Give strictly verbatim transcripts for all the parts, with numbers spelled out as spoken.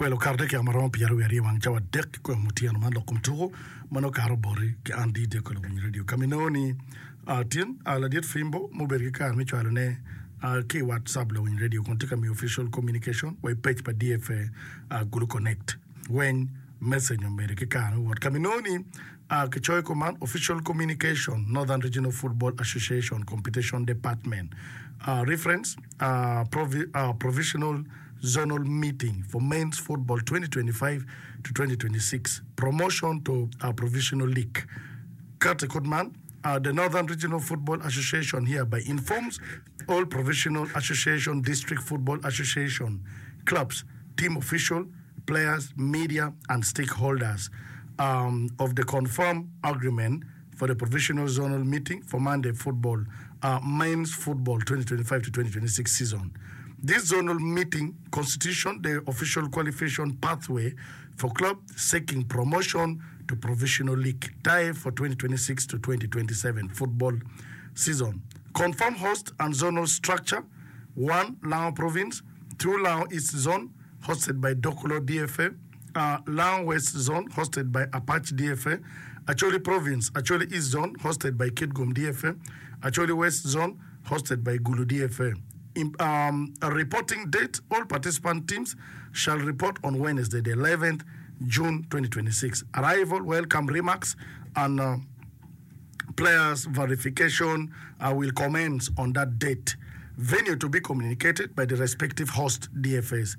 Well, okato dakika ma romo pyeraryo wiye aryo wang cawa adek ki kwemo otyeno man lok kom tuko ma nongo okato boti ki an D J Kolo Winyo Radio. Ka ma inongo ni ah, tin ah, ladit Fimbo mubedo ki kare me cwalone ah, ki i WhatsApp Lawiny Radio kun tye ka miyo official communication wa i page pa D F A ah, Gulu Connect. Weny message omedo ki kare me wot. Ka ma inongo ni ah, kicoyo kuman, official communication, Northern Regional Football Association Competition Department. Uh, reference uh, provi uh, provisional zonal meeting for men's football twenty twenty-five to twenty twenty-six, promotion to uh, provisional league. Kati Kutman, uh, the Northern Regional Football Association hereby informs all provisional association, district football association, clubs, team official, players, media, and stakeholders um, of the confirmed agreement for the provisional zonal meeting for Monday football, uh, men's football twenty twenty-five to twenty twenty-six season. This zonal meeting constitution the official qualification pathway for club seeking promotion to provisional league tie for twenty twenty-six to twenty twenty-seven football season. Confirm host and zonal structure: one. Lango Province, two. Lango East Zone, hosted by Dokolo D F A, uh, Lango West Zone, hosted by Apache D F A, Acholi Province, Acholi East Zone, hosted by Kitgum D F A, Acholi West Zone, hosted by Gulu D F A. In, um, a reporting date, all participant teams shall report on Wednesday, the eleventh June twenty twenty-six. Arrival, welcome remarks, and uh, players verification uh, will commence on that date. Venue to be communicated by the respective host D F As.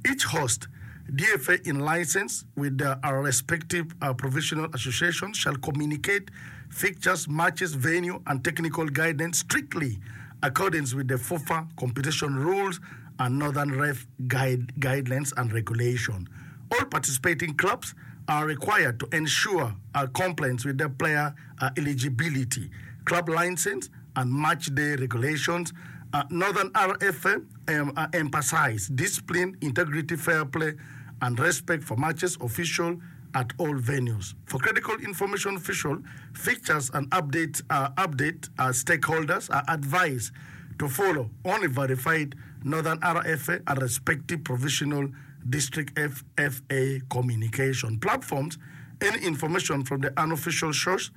Each host D F A in license with the, our respective uh, provisional associations shall communicate fixtures, matches, venue, and technical guidance strictly accordance with the FUFA competition rules and Northern Ref guide, guidelines and regulation. All participating clubs are required to ensure uh, compliance with their player uh, eligibility, club license, and match day regulations. Uh, Northern R F A um, uh, emphasize discipline, integrity, fair play, and respect for matches official at all venues. For critical information official, fixtures and update, uh, update uh, stakeholders are advised to follow only verified Northern R F A and respective provisional district F F A communication platforms. Any information from the unofficial source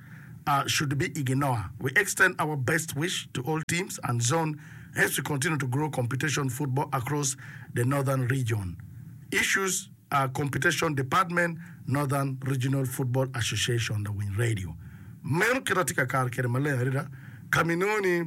uh, should be ignored. We extend our best wish to all teams and zone as we continue to grow competition football across the northern region. Issues uh, Competition Department, Northern Regional Football Association, the Win Radio. Meno kita tye ka kare kede maleng adada kaminoni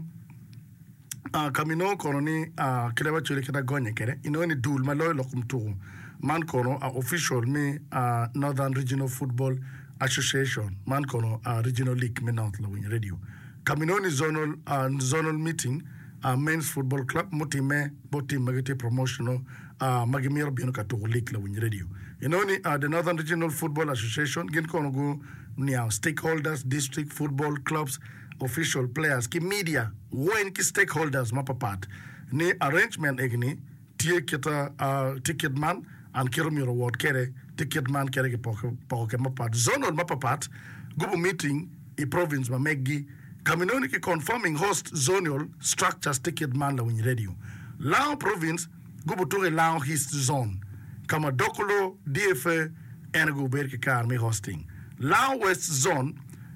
uh, kamino kono ni uh, kite wacoli kita gonye kede inongo ni dul ma loyo lok mutuku man kono uh, official mi uh, Northern Regional Football Association man kono uh, Regional League me North Lawiny Radio kaminoni zonal, uh, zonal meeting uh, men's football club mutime bot team ma gitye promotional uh, ma gimito bino ka tuko league Lawiny Radio inongo ni uh, the Northern Regional Football Association gin kono gu niang stakeholders, district football clubs, official, players ki media weny ki stakeholders mapapat ni arrangement egini tye kita uh, tye kit man an kito myero wot kede tye kit man kede ki poko poko ke mapat zonal mapapat gubo meeting i province ma meggi kaminoni ki confirming host zonal structures tye kit man Lawiny Radio. Lango Province gubo tuko i Lango East Zone kama Dokolo D F A en gubedo ki kare me hosting. Lango West Zone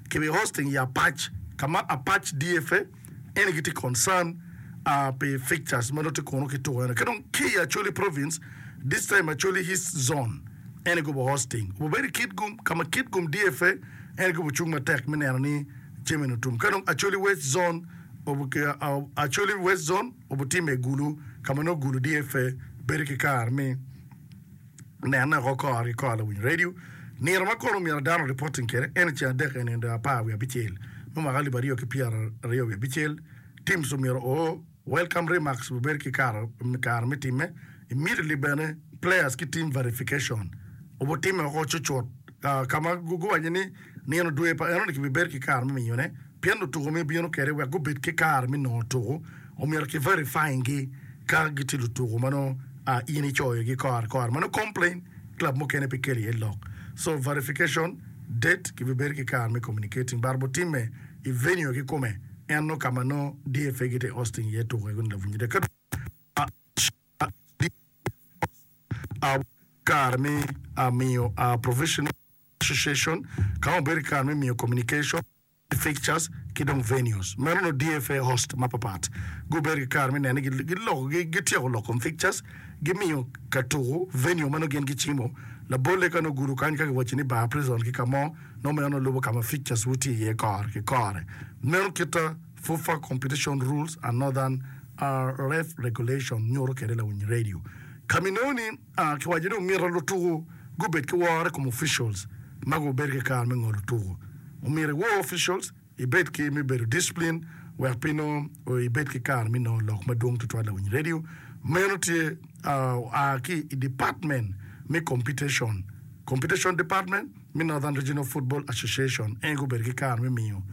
kibi hosting i Apac kama Apac D F A en gitye concern uh, pi fixtures ma nongo tye kunu ki tuko eno. Ki dong ki i Acholi Province, this time Acholi East Zone en gubo hosting obedo i Kitgum kama Kitgum D F A en gubo cung matek me neno ni jami ni otum. Ka dong Acholi West Zone obu- ki- uh, Acholi West Zone obutime i Gulu kama nongo Gulu D F A bedo ki kare me nene oko kore ki kore. Lawiny Radio, nino ma kono myero dano reporting kede en ceng adek en nino apar wiye abicel me mwaka alip aryo ki pyera aryo wiye abicel. Teams omyero o welcome remarks obedo ki kare kare me time immediately. Bene players ki team verification obutime oko cucut uh, kama gu- guwaco ni nino dwe pa enoni kibibedo ki kare me miyone pien lutuko mi bino kede wek gubed ki kare me nongo tuko omyero ki verifying gi ka gitye lutuko ma nongo uh, in icoyogi kore kore ma nongo complain club mukene pe kelo iye lok. So verification date kibibedo ki kare me communicating bar butime i venue kikome en no kama no D F A gitye hosting iye tuko ego ni Lawiny Radio. Ka uh, kare me miyo Provisional Association ka ma obedo ki kare me miyo communication, fixtures ki dong venues. Meno nongo D F A host mapapat gubedo ki kare me neno ni giloko gityeko loko kom fixtures, gimiyo ka tuku venue ma nongo gin gicimo. Labolle ka nongo gudo kany ka kiwaco ni bar prison ki ka mo, nongo meno nongo lubo ka ma fixtures wu tye iye kore ki kore. Meno kita FUFA Competition Rules and Northern Ref Regulation nyuto kwede lawiny radio. Ka ma inongo ni kiwaco ni omyero lutuku gubed ki woro i kom officials ma gubedo ki kare me ngolo tuku. Omyero iwor officials, ibed ki me bedo discipline wek pe inongo ibed ki kare me nongo lok madwong tutwal lawiny radio. Meno tye oa ki i department me competition, Competition Department me Northern Regional Football Association en gubedo ki kare me miyo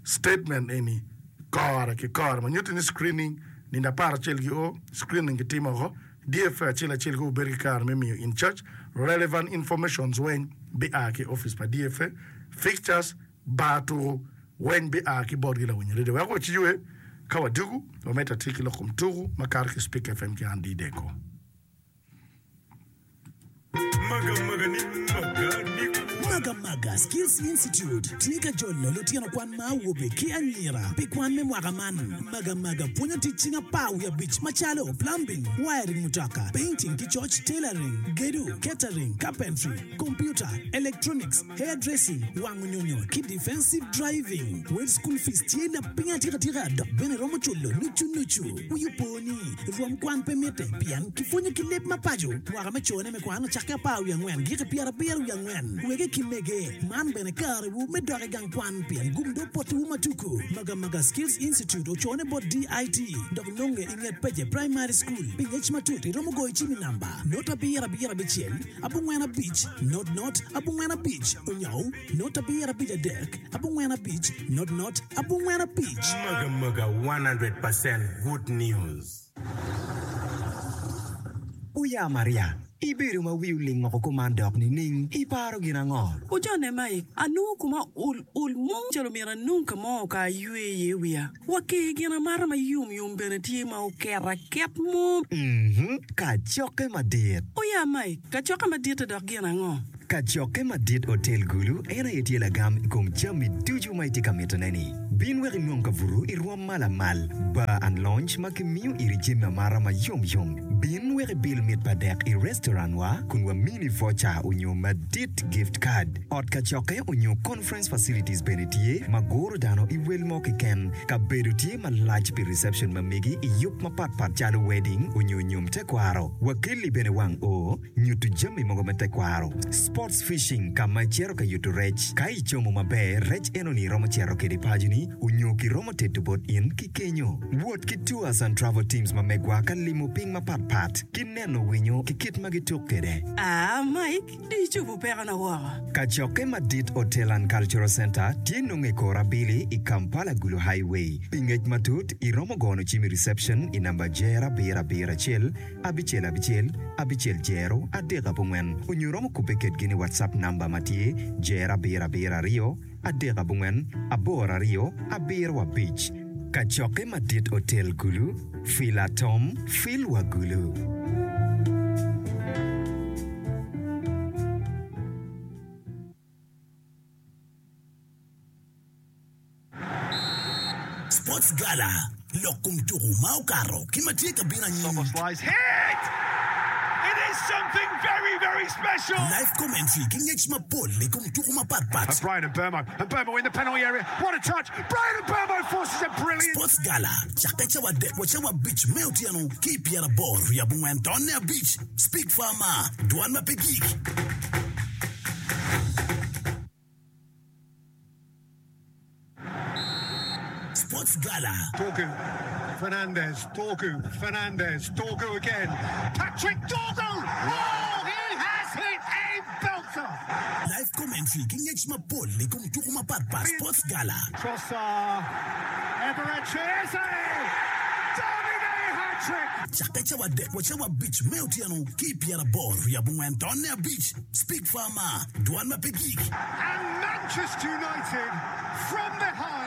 statement eni kore ki kore ma nyuto ni screening nino apar acel gi o screening gitimo oko D F A acel acel gubedo ki kare me miyo in charge relevant informations weng bi a ki office pa D F A fixtures bar tuku weng bi a ki botgi lawiny radio wek waciywe ka wadugu wamedde atir ki lok kom tuku makato ki Speak F M ki an D Deko. Magamaga Skills Institute tye ka jolo lutino kwan ma awobe ki anyira pi kwan me mwaka man. Magamaga pwonyo tic cing apar wiye abic macalo plumbing, wiring mutoka, painting ki coc, tailoring, gedo, catering, carpentry, computer, electronics, hairdressing, wango nyonyo ki defensive driving. Wel school fees tye lapiny atikatika dok bene romo culo nucu nucu. Wi opo ni rwom kwan pe mitte pien kipwonyo ki leb ma paco. Mwaka me cone me kwan ocakke apar wiye angwen giki pyerabiro wiye angwen. Wege ki mege man bene karewu me dok i gang kwan pien gum do potiwu matuku. Magamaga Skills Institute ocone bot D I T dok nonge i nget Peje Primary School. Pi ngec matut iromo goyo cim i namba not abiro abiro abicel abongwen abic not not abongwen abic onyo not abiro abic adek abongwen abic not not abongwen abic. Magamaga one hundred percent good news. Oya Maria, ibedo ma wi oling oko kuman dok nining? Iparo gin ango? Ojone Mike, anongo kuma ol ol mo calo myero anong ka mo ka aywe iye wiya. Wake gin amata ma yom yom bene tye ma oket aket mo. Mhm, kacokke madit. Oya Mike, kacokke madit dok gin ango? Kacokke madit Hotel Gulu en aye tye lagam i kom jami ducu ma itye ka mitone-ni. Bin wek inong kabuto i rwom ma lamal, bar and lounge ma kimiyo iri jami amata ma yomyom. Bin wek ibil mit pa dek i restaurant-wa kun wamini voucher onyo madit gift card. Ot kacokke onyo conference facilities bene tye ma guro dano i wel mo keken. Kabedo tye malac pi reception ma megi i yub mapatpat calo wedding onyo nyom tekwaro. Wakelli bene wang o nyuto jami mogo me tekwaro. Sports fishing ka ma icito ka yuto rec. Ka icomo maber, rec enoni iromo cito kwede paconi onyo kiromo teto bot in ki kenyo. Wot ki tours and travel teams ma megwa ka limo piny mapatpat ki neno winyo ki kit ma gituk kwede. Ah, Mike, di icobo pekona woko. Kacokke madit Hotel and Cultural Center tye nongo i kor abili i Kampala Gulu Highway. Pi ngec matut, iromo gono cim i reception i namba jero abiro abiro acel abicel abicel abicel jero adek abongwen onyo romo kubbe kedgi ni WhatsApp namba ma tye jero abiro abiro aryo adek abongwen aboro aryo abiro abic. Kacokke madit Hotel Gulu, Fil Atom, Fil wa Gulu. Sports Gala, lok kom tuku ma okato ki ma tye ka bino anyim. Live commentary ki ngec mapol i kom tuku mapatpat. Sports Gala cakke cawa adek wa cawa abic me otyeno ki i pyeraboro wiye abongwen tonne abic. Speak Farmer, dwan ma pe gik. Sports Gala. Dorgu, Fernandez, Dorgu, Fernandez, Dorgu again. Patrick Dorgu! Oh, he has hit a belter! Live commentary ki ngec mapol i kom tuku mapatpat. Sports Gala. Trossard, Eberechi Eze! Davide hat-trick! Cakke cawa adek wa cawa abic me otyeno ki i pyeraboro wiye abongwen tonne abic. Speak Farmer, dwan ma pe gik. And Manchester United from behind